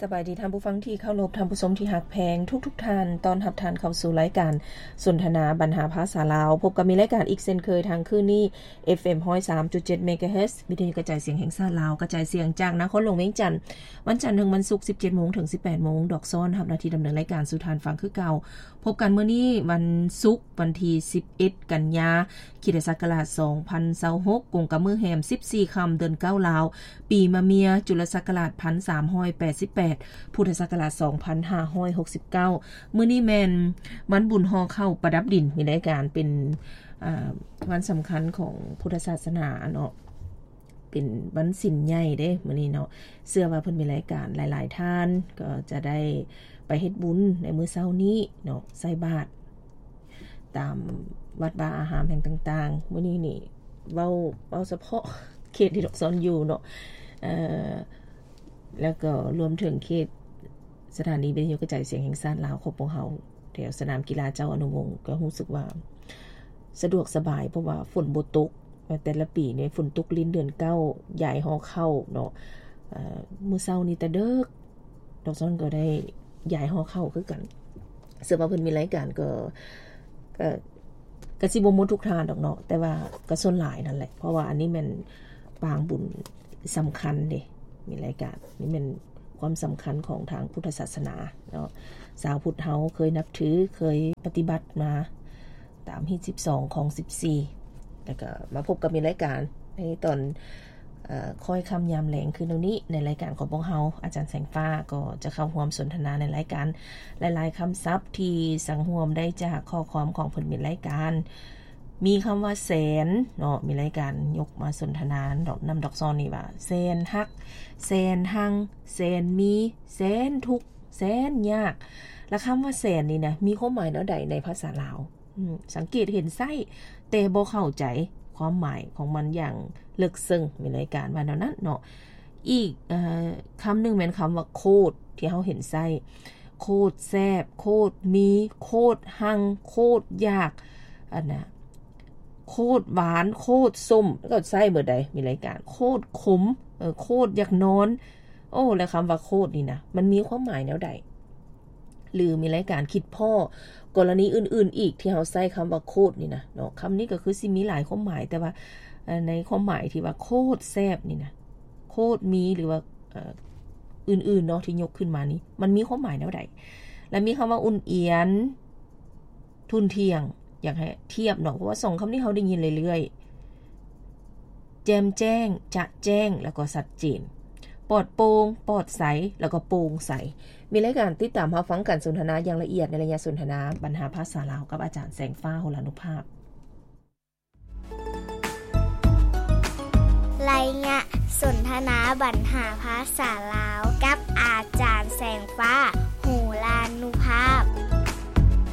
ສະບາຍດີທ່ານຜູ້ຟັງທີ່ເຄົາລົບ, ທ່ານຜູ້ຊົມທີ່ຮັກແພງທຸກໆທ່ານ. ຕ້ອນຮັບທ່ານເຂົ້າສູ່ລາຍການສົນທະນາບັນຫາພາສາລາວ. ພົບກັບມີລາຍການອີກເຊັ່ນເຄີຍທາງຄືນນີ້ ເອັຟເອັມ ຮ້ອຍສາມຈຸດເຈັດ ເມກາເຮີດ ວິທະຍຸກະຈາຍສຽງແຫ່ງຊາດລາວ, ກະຈາຍສຽງຈາກນະຄອນຫຼວງວຽງຈັນ, ວັນຈັນເຖິງວັນສຸກ ສິບເຈັດໂມງເຖິງ ສິບແປດໂມງ. ດອກຊອນຮັບໜ້າທີ່ດຳເນີນລາຍການສູ່ທ່ານຟັງຄືເກົ່າ. ພົບກັນມື້ນີ້ວັນສຸກ ວັນທີສິບເອັດ ກັນຍາ ຄຣິສຕະສັກກະລາດສອງພັນຊາວຫົກ ກົງກັບມື້ແຮມສິບສີ່ຄ່ຳ ເດືອນເກົ້າລາວ, ປີມະເມຍ ຈຸລະສັກກະລາດພັນສາມຮ້ອຍແປດສິບແປດ ພຸດທະສັກກະລາດສອງພັນຫ້າຮ້ອຍຫົກສິບເກົ້າ. ມື້ນີ້ແມ່ນວັນບຸນຫໍ່ເຂົ້າປະດັບດິນ, ມີລາຍການເປັນ ອາ ວັນສຳຄັນຂອງພຸດທະສາສະໜາເນາະ. ເປັນວັນສິນໃຫຍ່ເດ້ມື້ນີ້ເນາະ. ເຊື່ອວ່າເພິ່ນມີລາຍການ ຫຼາຍໆທ່ານກໍຈະໄດ້ໄປເຮັດບຸນໃນມື້ເຊົ້ານີ້ເນາະ, ໃສ່ບາດຕາມວັດວາອາຮາມແຫ່ງຕ່າງໆ. ມື້ນີ້ນີ້ເວົ້າ ເວົ້າສະເພາະເຂດທີ່ດອກຊອນຢູ່ເນາະ, ເອີ ແລ້ວກໍລວມເຖິງເຂດສະຖານີວິທະຍຸກະຈາຍສຽງແຫ່ງຊາດລາວຂອງພວກເຮົາ ແຖວສະໜາມກິລາເຈົ້າອະນຸວົງ ກໍຮູ້ສຶກວ່າສະດວກສະບາຍ ເພາະວ່າຝົນບໍ່ຕົກ. ແຕ່ລະປີນີ້ຝົນຕົກຫຼິ້ນເດືອນເກົ້າ ຢາຍຫໍ່ເຂົ້າເນາະ. ເອີ ມື້ເຊົ້ານີ້ແຕ່ເດິກ ດອກຊອນກໍໄດ້ຢາຍຫໍ່ເຂົ້າຄືກັນ. ເຊື່ອວ່າເພິ່ນມີລາຍການກໍ ກໍ ກໍຊິບໍ່ໝົດທຸກທ່ານດອກເນາະ, ແຕ່ວ່າກໍສ່ວນຫຼາຍນັ້ນແຫຼະ, ເພາະວ່າອັນນີ້ແມ່ນປາງບຸນສຳຄັນເດ້. ມີລາຍການນີ້ແມ່ນຄວາມສຳຄັນຂອງທາງພຸດທະສາສະໜາເນາະ. ຊາວພຸດເຮົາເຄີຍນັບຖື, ເຄີຍປະຕິບັດມາຕາມຮີດສິບສອງ ຄອງສິບສີ່. ແລ້ວກໍມາພົບກັບມີລາຍການໃນຕອນ ເອີ ຄ່ອຍຄ່ຳຍາມແລງຄືນນີ້ ໃນລາຍການຂອງພວກເຮົາ, ອາຈານແສງຟ້າກໍຈະເຂົ້າຮ່ວມສົນທະນາໃນລາຍການຫຼາຍໆຄຳສັບທີ່ສັງຮວມໄດ້ຈາກຂໍ້ຄວາມຂອງເພິ່ນມີລາຍການ. ມີຄຳວ່າແສນເນາະ, ມີລາຍການຍົກມາສົນທະນານຳດອກຊອນນີ້ວ່າ ແສນຮັກ, ແສນຮັງ, ແສນມີ, ແສນທຸກ, ແສນຍາກ. ລະຄຳວ່າແສນນີ້ນະ ມີຄວາມໝາຍແນວໃດໃນພາສາລາວ? ອືມ ສັງເກດເຫັນໃຊ້ ແຕ່ບໍ່ເຂົ້າໃຈຄວາມໝາຍຂອງມັນຢ່າງເລິກເຊິ່ງ, ມີລາຍການວ່າແນວນັ້ນເນາະ. ອີກ ເອີ ຄຳໜຶ່ງແມ່ນຄຳວ່າໂຄດ ທີ່ເຮົາເຫັນໃຊ້ ໂຄດແຊບ, ໂຄດມີ, ໂຄດຮັງ, ໂຄດຢາກ, ອັນນະ ໂຄດຫວານ, ໂຄດສົ້ມ ກໍໃຊ້ເໝິດໃດ໋ ມີລາຍການ ໂຄດຂົມ, ເອີ ໂຄດຢາກນອນ. ໂອ້ ແລ້ວຄຳວ່າໂຄດນີ້ນະ ມັນມີຄວາມໝາຍແນວໃດ? ຫຼືມີລາຍການຄິດພໍ້ກໍລະນີອື່ນໆອີກທີ່ເຮົາໃຊ້ຄຳວ່າໂຄດນີ້ນະເນາະ. ຄຳນີ້ກໍຄືຊິມີຫຼາຍຄວາມໝາຍ, ແຕ່ວ່າ ເອີ ໃນຄວາມໝາຍທີ່ວ່າໂຄດແຊບນີ້ນະ, ໂຄດມີ ຫຼືວ່າ ເອີ ອື່ນໆເນາະ ທີ່ຍົກຂຶ້ນມານີ້ ມັນມີຄວາມໝາຍແນວໃດ? ແລະມີຄຳວ່າອຸ່ນອຽນ, ທຸ່ນທ່ຽງ, ຢາກໃຫ້ທຽບເນາະ, ເພາະວ່າສອງຄຳນີ້ເຮົາໄດ້ຍິນເລື້ອຍໆ. ແຈ່ມແຈ້ງ, ຈະແຈ້ງ ແລ້ວກໍຊັດເຈນ, ປອດໂປ່ງ, ປອດໃສ ແລ້ວກໍໂປ່ງໃສ. ມີລາຍການຕິດຕາມຮັບຟັງການສົນທະນາຢ່າງລະອຽດໃນໄລຍະສົນທະນາບັນຫາພາສາລາວກັບອາຈານແສງຟ້າ ໂຫລານຸພາບ. ໄລຍະສົນທະນາບັນຫາພາສາລາວກັ